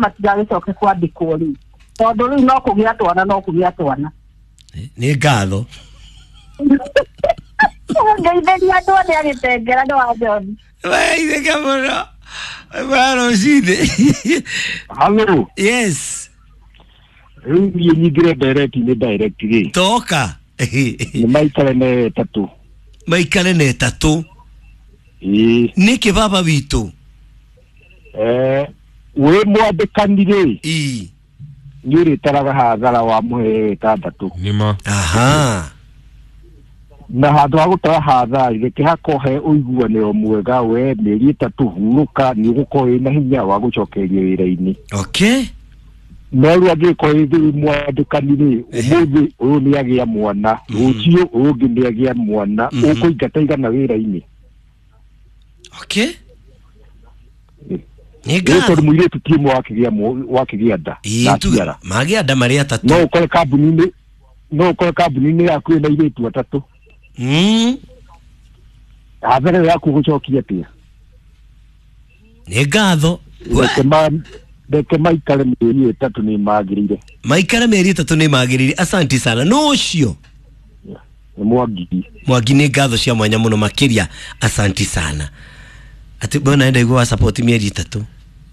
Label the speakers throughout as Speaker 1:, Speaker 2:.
Speaker 1: Matigagĩcoke kwandĩkwo rĩu tondũ rĩu no kũgĩa twana, no kũgĩa twana.
Speaker 2: Nĩ ngatho.
Speaker 1: Ngeithĩria andũ othe agĩtengera nĩ wa John.
Speaker 2: Waithĩka mũno wa rũcinĩ.
Speaker 3: Halo.
Speaker 2: Yes.
Speaker 3: Rĩu niĩ nyingĩre direct nĩ direct rĩ.
Speaker 2: Toka.
Speaker 3: Nĩ maikare na ĩtatũ.
Speaker 2: Maikare na ĩtatũ.
Speaker 3: Ĩĩ.
Speaker 2: Nĩkĩ baba witũ?
Speaker 3: Wĩ mwandĩkani rĩ.
Speaker 2: Ii.
Speaker 3: Nĩ ũrĩtaraga hathara wa mũhe ĩtandatũ.
Speaker 4: Nĩma.
Speaker 2: Aha.
Speaker 3: Na handũ ha gũtara hathara reke hakohe ũiguanĩro mwega, we mĩeri 3 hurũka, nĩ ũgũkorwo wĩna hinya wa gũcokeria wĩra-inĩ.
Speaker 2: Okay.
Speaker 3: No rĩu angĩkorwo wĩ mwandĩkani rĩ, ũmũthĩ ũyũ nĩ agĩa mwana, rũciũ ũyũ ũngĩ nĩ agĩa mwana, ũkũingata igana wĩra-inĩ.
Speaker 2: Okay. Nĩ
Speaker 3: Ĩ, tondũ
Speaker 2: ngatho.
Speaker 3: mũirĩtu ti ũmwe wakĩgĩa nda
Speaker 2: Ĩĩ,
Speaker 3: na
Speaker 2: tuge
Speaker 3: aciara.
Speaker 2: magĩa nda marĩ atatũ.
Speaker 3: No ũkore kambuni-inĩ, no ũkore kambuni-inĩ yaku ĩna airĩtu atatũ. Hathara ĩyo yaku ũgũcokia atĩa?
Speaker 2: Nĩ ngatho.
Speaker 3: Reke maikare mĩeri 3 nĩ magĩrĩire.
Speaker 2: Maikare mĩeri 3 nĩ magĩrĩire. Asanti sana. No ũcio
Speaker 3: Nĩ Mwangi.
Speaker 2: Mwangi, nĩ ngatho cia mwanya mũno makĩria. Asanti sana. Atĩ bwana ndaigua wa support mĩeri 3.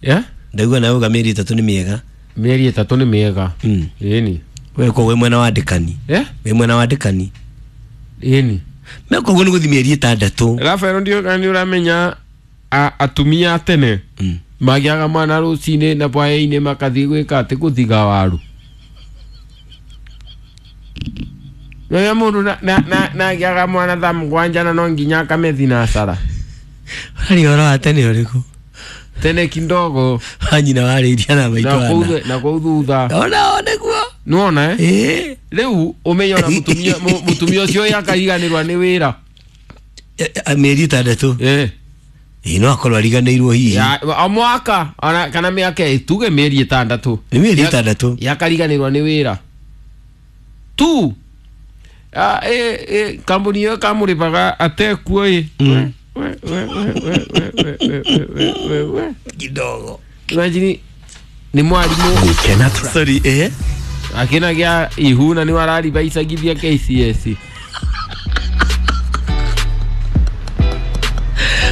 Speaker 4: Yeah?
Speaker 2: Ndaigua nawe uga mĩeri 3 nĩ mĩega.
Speaker 4: Mĩeri 3 nĩ mĩega. Ĩni.
Speaker 2: We ko wĩ mwena wa ndĩkani.
Speaker 4: Yeah?
Speaker 2: Wĩ mwena wa ndĩkani.
Speaker 4: Ĩni.
Speaker 2: Meko ũguo nĩ gũthiĩ mĩeri 6.
Speaker 4: Rafael ndio nĩ ũramenya atumia a tene magĩaga mwana rũcinĩ na hwaĩ-inĩ makathiĩ gwĩka atĩ gũthiga waru. Rĩrĩa mũndũ na agĩaga mwana thaa 7 na no nginya akamethi na cara.
Speaker 2: Harĩ ũhoro wa tene ũrĩkũ?
Speaker 4: Tene kindogo.
Speaker 2: Wa nyina warĩirie na maitũ
Speaker 4: Na
Speaker 2: ana.
Speaker 4: kũu na kũu thutha.
Speaker 2: Ona o nĩguo.
Speaker 4: Nĩwona eh?
Speaker 2: Ĩĩ.
Speaker 4: Rĩu ũmenye ona mũtumia ũcio akariganĩrwa nĩ wĩra.
Speaker 2: Mĩeri 6.
Speaker 4: Ĩĩ.
Speaker 2: Ĩĩ, no akorwo ariganĩirwo hihi.
Speaker 4: Ya, o mwaka ona kana mĩaka tuge mĩeri 6.
Speaker 2: Nĩ mĩeri 6.
Speaker 4: Yakariganĩrwa nĩ wĩra tu. Kambuni ĩyo kamũrĩbaga atekuo ĩ. We, we, we, we, we, we, we, we, we, we.
Speaker 2: Kidogo.
Speaker 4: Imagine nĩ mwarimũ.
Speaker 2: Sorry, eh?
Speaker 4: Akĩnagĩa ihu na nĩ araribaicagithia KCSE.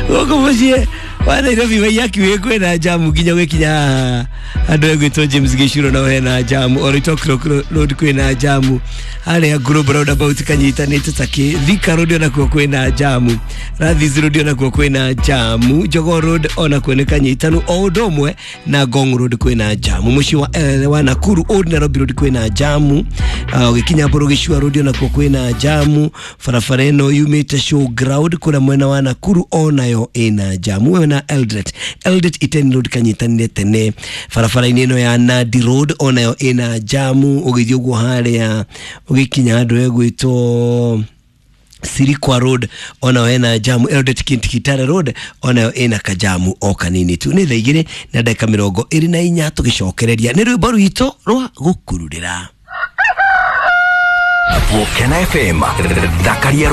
Speaker 2: Gũkũ mũciĩ wa Nairobi Waiyaki wĩ kwĩna jamu nginya gwĩkinya haha andũ egwĩtwo James Gĩcuro no hena jamu, Oloitoktok Road kwĩna jamu, harĩa Global Roundabout kanyitanĩte takĩ, Thika Road onakuo kwĩna jamu, Rathis Road onakuo kwĩna jamu, Jogoo Road onakuo nĩ kanyitanu, o ũndũ ũmwe na Ngong Road kwĩna jamu, mũciĩ wa Nakuru Old Nairobi Road kwĩna jamu, ũgĩkinya Mbũrũ Gĩcua Road onakuo kwĩna jamu, barabara ĩno yumĩte Showground kũrĩa mwena wa Nakuru onayo ĩna jamu, wewe na Eldoret, Eldoret Iten Road kanyitanire tene, barabara-inĩ ĩno ya Nandi Road onayo ĩna jamu, ũgĩthiĩ ũguo harĩa ũgĩkinya handũ hegwĩtwo Sirikwa Road onayo ĩna jamu, Eldoret Kitale Road onayo ĩna kajamu o kanini tu. Nĩ thaa 2:24 tũgĩcokereria nĩ rwĩmbo rwitũ rwa gũkururĩra.
Speaker 5: Gũkena FM thakaria.